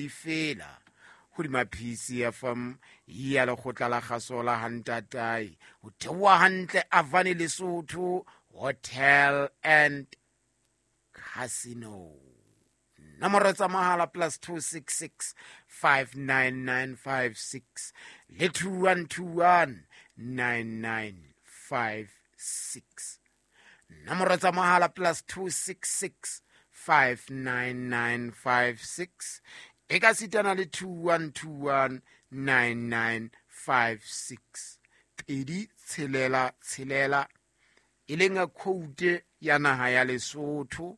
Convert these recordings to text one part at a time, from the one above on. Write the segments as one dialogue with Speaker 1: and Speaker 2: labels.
Speaker 1: difela hodima PCFM ya lekgotla la kgaso la hantatae ho theoha hantle Avani Lesotho Hotel and Casino. Nomoro tsa mohala plus 266 59956 le 2121 9956. Nomoro tsa mohala plus 266 59956 e ka sitana le 2121 9956. Pedi tshelela tshelela e leng quote ya naha ya Lesotho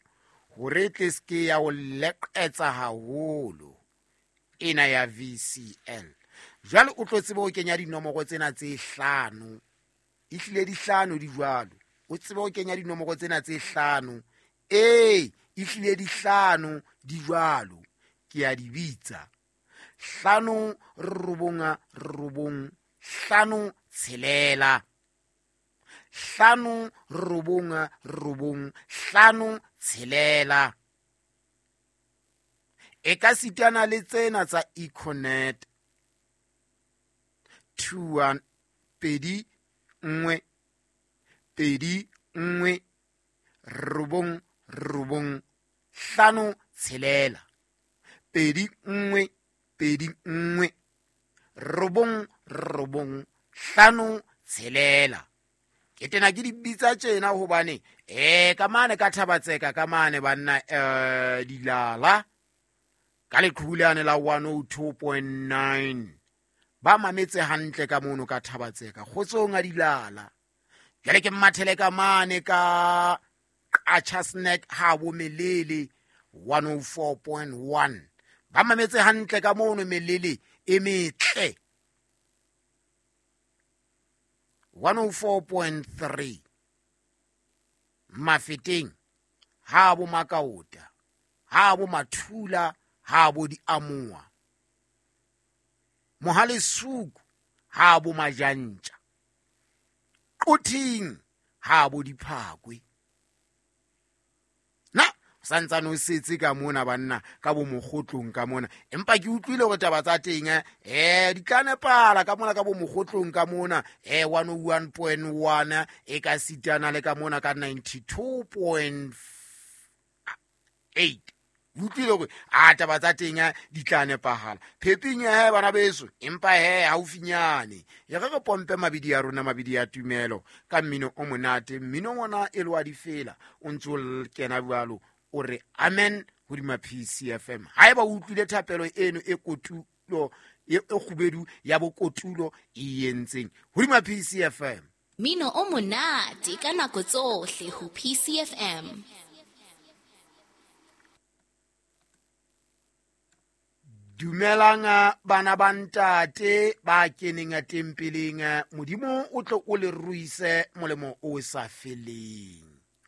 Speaker 1: hore e tle se ya o leqetsa haholo ena ya VCL. Jwale o tlo tsebe ho kenya dinomoro tsena tse hlano, ehlile di hlano di jwalo, o tsebe ho kenya dinomoro tsena tse hlano, ee ehlile di hlano di jwalo, ke a di bitsa 5 9 9 5 6 5 9 9 5 6. E ka sitana le tsena tsa Econet 2 1 2 1 2 1 9 9 5 6 2 1 2 1 9 9 5 6. Ke tena ke di bitsa tjena hobane ka mane ka Thabatseka ka mane banna dilala ka leqhulane la 102.9 ba mametse hantle ka mono ka Thabatseka kgotsong a dilala. Jwale ke mathele ka mane ka Qacha Snack ha bo Melele 104.1 ba mametse hantle ka mono Melele e metle 104.3 Mafeteng ha bo Makaota ha bo Mathula ha bo Diamoa Mohalesuku ha bo Majantja Qothing ha bo Diphakwe. Na santsane o setse ka mona banna ka bo mokgotlong ka mona, empa ke utlwile hore taba tsa teng di tla nepala ka mona ka bo mokgotlong ka mona 101.1 e ka sitana le ka mona ka 92.8. Utlwile hore a taba tsa teng di tla nepahala pheping ya bana beso, empa he haufinyane e re re pompe mabidi ya rona, mabidi ya tumelo ka mmino o monate, mmino ona e le wa difela o ntso kena jwalo o re amen hodima PCFM. Haeba o utlwile thapelo eno e kotulo e kgubedu ya bokotulo e entseng hodima PCFM.
Speaker 2: Mmino o monate ka nako tsohle ho PCFM.
Speaker 1: Dumelang bana ba ntate ba keneng tempeleng, Modimo o tlo o le ruise molemo o sa feleng.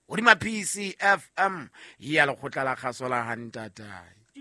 Speaker 1: Hodima PCFM ya lekgotla la kgaso la hantatae.